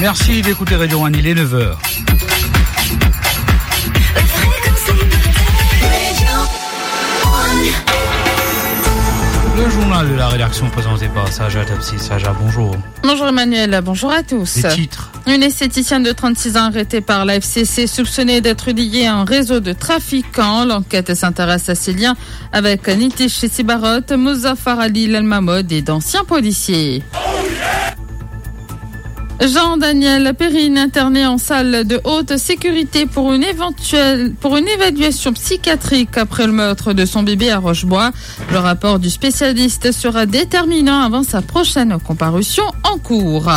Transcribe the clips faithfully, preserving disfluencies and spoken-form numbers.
Merci d'écouter Radio One, il est neuf heures. Le journal de la rédaction présenté par Saja Tepsi. Saja, bonjour. Bonjour Emmanuel, bonjour à tous. Les titres. Une esthéticienne de trente-six ans arrêtée par la F C C, soupçonnée d'être liée à un réseau de trafiquants. L'enquête s'intéresse à ses liens avec Nitish Sibarote, Muzaffar Ali Lalmamod et d'anciens policiers. Jean-Daniel Perrine, interné en salle de haute sécurité pour une éventuelle, pour une évaluation psychiatrique après le meurtre de son bébé à Roche-Bois. Le rapport du spécialiste sera déterminant avant sa prochaine comparution en cour.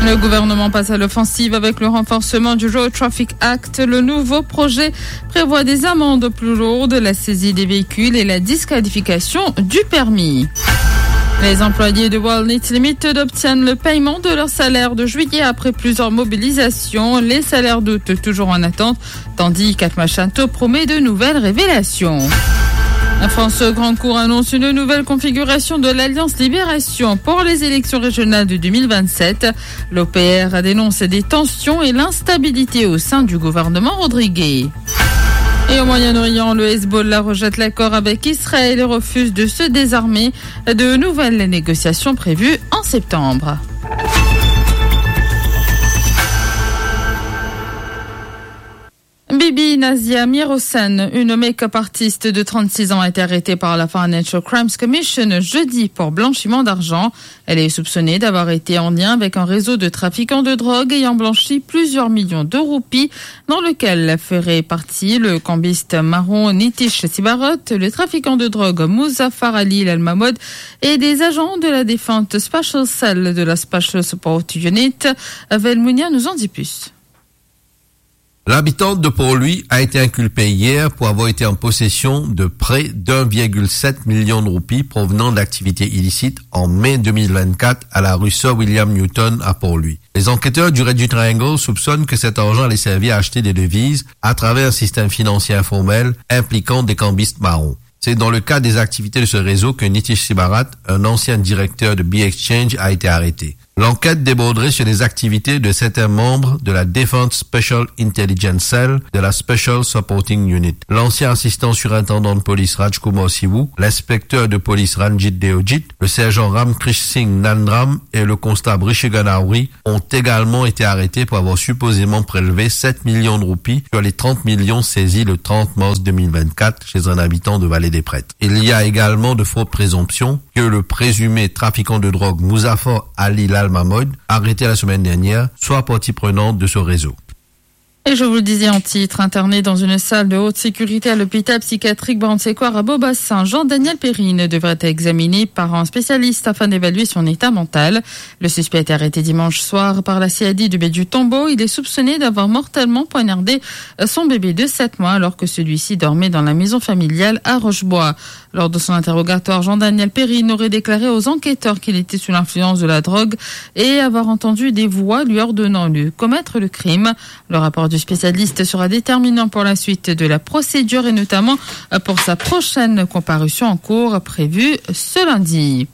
Le gouvernement passe à l'offensive avec le renforcement du Road Traffic Act. Le nouveau projet prévoit des amendes plus lourdes, la saisie des véhicules et la disqualification du permis. Les employés de Walnut Limited obtiennent le paiement de leur salaire de juillet après plusieurs mobilisations. Les salaires d'août toujours en attente, tandis qu'Atma Shanto promet de nouvelles révélations. La France Grand Cours annonce une nouvelle configuration de l'Alliance Libération pour les élections régionales de deux mille vingt-sept. L'O P R dénonce des tensions et l'instabilité au sein du gouvernement rodriguais. Et au Moyen-Orient, le Hezbollah rejette l'accord avec Israël et refuse de se désarmer. De nouvelles négociations prévues en septembre. Bibi Nazia Mirhossein, une make-up artiste de trente-six ans, a été arrêtée par la Financial Crimes Commission jeudi pour blanchiment d'argent. Elle est soupçonnée d'avoir été en lien avec un réseau de trafiquants de drogue ayant blanchi plusieurs millions de roupies, dans lequel ferait partie le cambiste marron Nitish Sibarote, le trafiquant de drogue Muzaffar Ali Lalmamod et des agents de la défunte Special Cell de la Special Support Unit. Velmounia nous en dit plus. L'habitant de Port-Louis a été inculpé hier pour avoir été en possession de près d'un virgule sept million de roupies provenant d'activités illicites en mai deux mille vingt-quatre à la rue Sir William Newton à Port-Louis. Les enquêteurs du Red Triangle soupçonnent que cet argent allait servir à acheter des devises à travers un système financier informel impliquant des cambistes marrons. C'est dans le cadre des activités de ce réseau que Nitish Sibarote, un ancien directeur de B-Exchange, a été arrêté. L'enquête déborderait sur les activités de certains membres de la défunte Special Intelligence Cell de la Special Supporting Unit. L'ancien assistant surintendant de police Rajkumar Siwu, l'inspecteur de police Ranjit Deojit, le sergent Ram Krish Singh Nandram et le constable Rishi Ganauri ont également été arrêtés pour avoir supposément prélevé sept millions de roupies sur les trente millions saisis le trente mars deux mille vingt-quatre chez un habitant de Vallée des Prêtres. Il y a également de fortes présomptions que le présumé trafiquant de drogue Muzaffar Ali Lalmamod, arrêté la semaine dernière, soit partie prenante de ce réseau. Et je vous le disais en titre, interné dans une salle de haute sécurité à l'hôpital psychiatrique Braham Séquard à Beau-Bassin, Jean-Daniel Perrine devrait être examiné par un spécialiste afin d'évaluer son état mental. Le suspect a été arrêté dimanche soir par la C I D de Baie du Tombeau. Il est soupçonné d'avoir mortellement poignardé son bébé de sept mois alors que celui-ci dormait dans la maison familiale à Roche-Bois. Lors de son interrogatoire, Jean-Daniel Perrine aurait déclaré aux enquêteurs qu'il était sous l'influence de la drogue et avoir entendu des voix lui ordonnant de commettre le crime. Le rapport du spécialiste sera déterminant pour la suite de la procédure et notamment pour sa prochaine comparution en cour prévue ce lundi.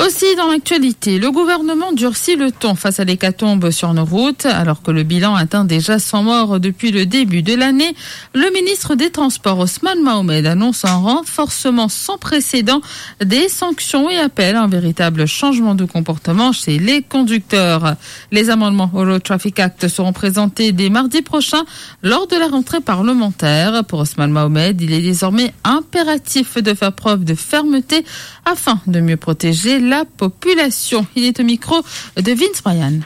Aussi dans l'actualité, le gouvernement durcit le ton face à l'hécatombe sur nos routes. Alors que le bilan atteint déjà cent morts depuis le début de l'année, le ministre des Transports, Osman Mohamed, annonce un renforcement sans précédent des sanctions et appelle à un véritable changement de comportement chez les conducteurs. Les amendements au Road Traffic Act seront présentés dès mardi prochain lors de la rentrée parlementaire. Pour Osman Mohamed, il est désormais impératif de faire preuve de fermeté afin de mieux protéger la population. Il est au micro de Vince Bryan.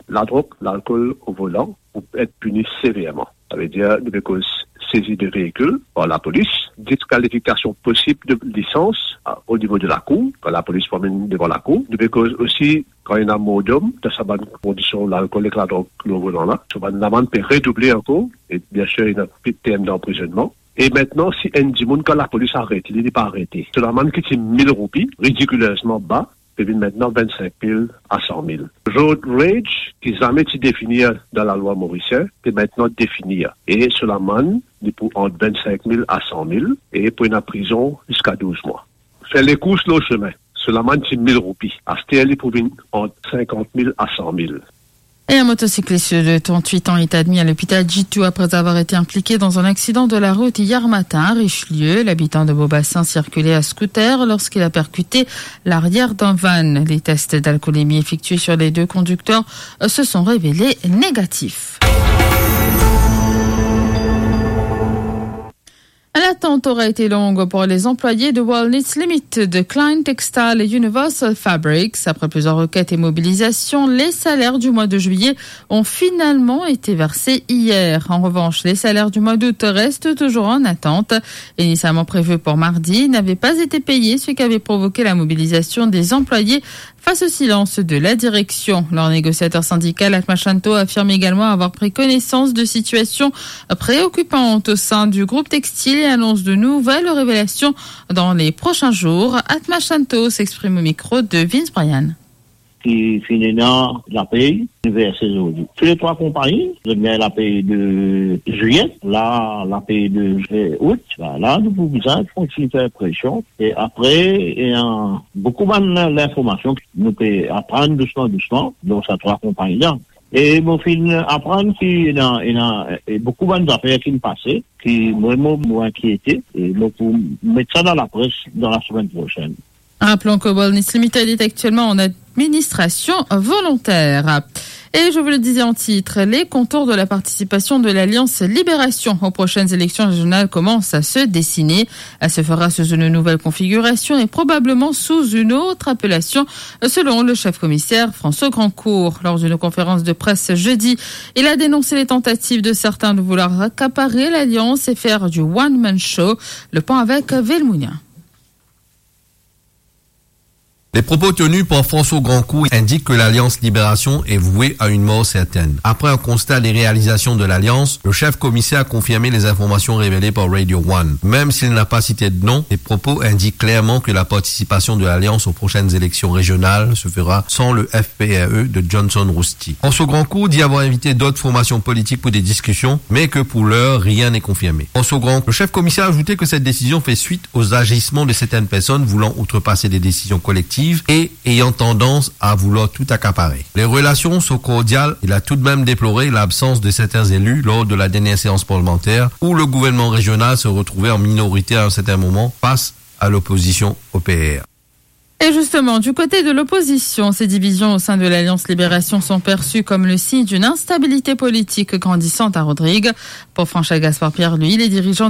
Ladrog, lalkol o volan pou et pini severman. Savedir, nou pe koz sezi de veikil par lapolis, diskalifikasyon posib de lisans, a, o nivo de lakour, kan lapolis pou amenn devan lakour. Nou pe koz osi kan ena mordom dan sa bann kondisyon lalkol ek ladrog lor volan la. So bann lamann pe redouble ankor, e biensir, ena term danprizonnman. E aster, si enn dimoun, kan lapolis aret li, li pa arete, so lamann ki ti mil roupi, ridikilezman ba, pe vinn aster vinn sink mil a san mil. Road rage, ki zame ti definir dan lalwa morisien, pe aster defini. E so lamann, li pou ant vinn sink mil a san mil, e pou ena prizon ziska douz mwa. Fer lekours lor sime, so lamann ti mil roupi, aster li pou vinn ant sinkant mil a san mil. Et un motocycliste de trente-huit ans est admis à l'hôpital Djitou après avoir été impliqué dans un accident de la route hier matin à Richelieu. L'habitant de Beaubassin circulait à scooter lorsqu'il a percuté l'arrière d'un van. Les tests d'alcoolémie effectués sur les deux conducteurs, euh, se sont révélés négatifs. L'attente aura été longue pour les employés de Wellness Limited, Klein Textile et Universal Fabrics. Après plusieurs requêtes et mobilisations, les salaires du mois de juillet ont finalement été versés hier. En revanche, les salaires du mois d'août restent toujours en attente. Initialement prévus pour mardi, n'avaient pas été payés, ce qui avait provoqué la mobilisation des employés face au silence de la direction. Leur négociateur syndical, Atma Shanto, affirme également avoir pris connaissance de situations préoccupantes au sein du groupe textile et annonce de nouvelles révélations dans les prochains jours. Atma Shanto s'exprime au micro de Vince Bryan. Ki finn ena lapey, nou verse zordi. Tou le trwa konpagni, zot gagn lapey de zilye, la, lapey de, eh, out, la, la, nou pou bizin kontign fer presion. E apre, ena boukou bann linformasion ki nou pe aprann dousman, dousman, dan sa trwa konpagni la. E mo finn aprann ki ena, ena, e boukou bann zafer ki finn pase, ki mwa, mo, mo inkiete, e mo pou met sa dan lapres dan lasemenn prosenn. Rappelons que Wellness Limited est actuellement en administration volontaire. Et je vous le disais en titre, les contours de la participation de l'Alliance Libération aux prochaines élections régionales commencent à se dessiner. Elle se fera sous une nouvelle configuration et probablement sous une autre appellation, selon le chef commissaire François Grandcourt. Lors d'une conférence de presse jeudi, il a dénoncé les tentatives de certains de vouloir accaparer l'Alliance et faire du one-man show. Le point avec Velmounia. Les propos tenus par François Grandcourt indiquent que l'Alliance Libération est vouée à une mort certaine. Après un constat des réalisations de l'Alliance, le chef commissaire a confirmé les informations révélées par Radio One. Même s'il n'a pas cité de nom, ses propos indiquent clairement que la participation de l'Alliance aux prochaines élections régionales se fera sans le F P R E de Johnson Rousty. François Grandcourt dit avoir invité d'autres formations politiques pour des discussions, mais que pour l'heure, rien n'est confirmé. François Grandcourt, le chef commissaire, a ajouté que cette décision fait suite aux agissements de certaines personnes voulant outrepasser des décisions collectives et ayant tendance à vouloir tout accaparer. Les relations sont cordiales. Il a tout de même déploré l'absence de certains élus lors de la dernière séance parlementaire où le gouvernement régional se retrouvait en minorité à un certain moment face à l'opposition au P R. Et justement, du côté de l'opposition, ces divisions au sein de l'Alliance Libération sont perçues comme le signe d'une instabilité politique grandissante à Rodrigues. Pour François Gaspard Pierre, lui, les dirigeants de